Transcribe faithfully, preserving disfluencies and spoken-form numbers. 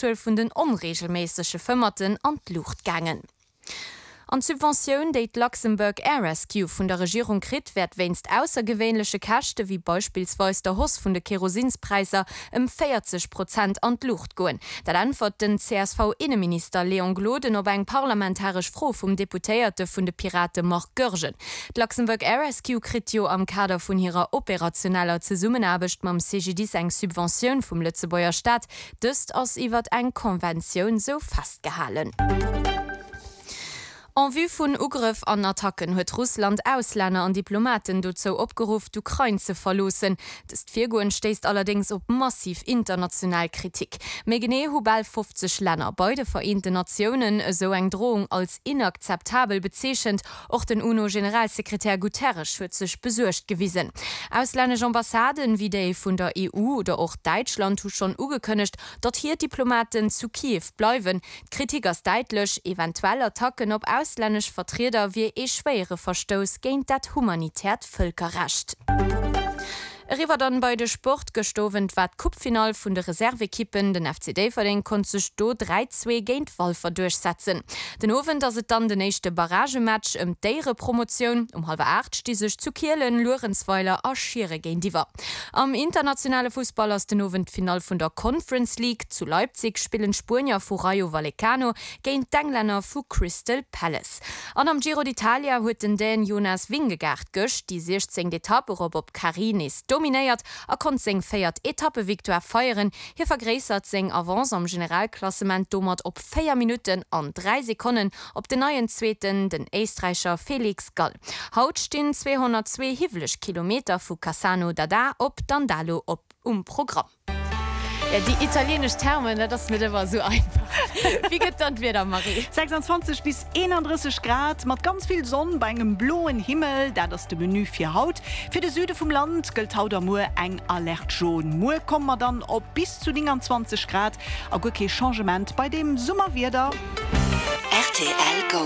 d'Zuel vun den onreegelméissege Fëmmerten an d'Luucht gaangen. An d'Subventioun, déi d'Luxembourg Air Rescue vun der Regierung kritt, wäert wéinst aussergewéinleche Käschte wéi beispillsweis der Hausse vun de Kerosinspräisser ëm véierzeg Prozent an d'Luucht goen. Dat äntwert den C S V-Inneminister Léon Gloden op eng parlamentaresch Fro vum Deputéierte vun de Pirate Marc Goergen. D'Luxembourg Air Rescue kritt jo am Kader vun hirer operationeller Zesummenaarbecht mam C G D I S eng Subventioun vum Lëtzebuerger Staat. Dëst ass iwwert eng Konventioun sou festgehalen. En vue vun Ugrëff an Attacken huet Russland Auslänner an Diplomaten dozou opgeruff, d'Ukrain ze verloossen. Dëst Virgoen stéisst allerdéngs op massiv international Kritik. Méi genee hu bal fofzeg Länner bei de Vereenten Natiounen esou eng Drohung als inakzeptabel bezeechent. Och den U N O-Generalsekretär Guterres huet sech besuergt gewisen. Auslännesch Ambassaden, wéi déi vun der E U oder och Däitschland hu schonn ugekënnegt, datt hir Diplomaten zu Kiew bleiwen. D'Kritik ass däitlech, eventuell Attacken op auslännesch Vertrieder wier ee schwéiere Verstouss géint dat humanitäert Vëlkerrecht. Eriwwer dann bei de Sport. Gëschter Owend war d'Coupefinall vun de Reservekippen. Den F C Déifferdeng konnt sech do dräi zwee géint Walfer duerchsetzen. Den Owend ass et dann den éischte Barragematch ëm d'Éierepromotioun. Um hallwer aacht sti sech zu Kielen Luerenzweiler a Schiere géintiwwer. Am internationale Fussball ass den Owend d'Finall vun der Conference League. Zu Leipzig spillen d'Spuenier vu Rayo Vallecano géint d'Englänner vu Crystal Palace. An am Giro d'Italia huet den Dän Jonas Vingegaard gëscht déi siechzéngt Etapp erop op Cari nees dominéiert a konnt seng véiert Etappevictoire feieren. Hie vergréissert seng Avance am Generalklassement domat op véier Minutten an dräi Sekonnen op den neien Zweeten, den Éisträicher Felix Gall. Haut stinn zweehonnertzwee hiwweleg Kilometer vu Cassano d'Adda op Dandalo op um Programm. Jo, déi italieenesch Termen, dat ass net ëmmer esou einfach. Wéi gëtt dann d'Wieder, Marie? sechsanzwanzeg bis eenandrësseg Grad mat ganz vill Sonn bei engem bloen Himmel, dat ass de Menü fir haut. Fir de Süde vum Land gëllt haut a muer eng Alerte jaune. Muer komme mer dann op bis zu nénganzwanzeg Grad a guer kee Changement bei deem Summerwieder. R T L Go.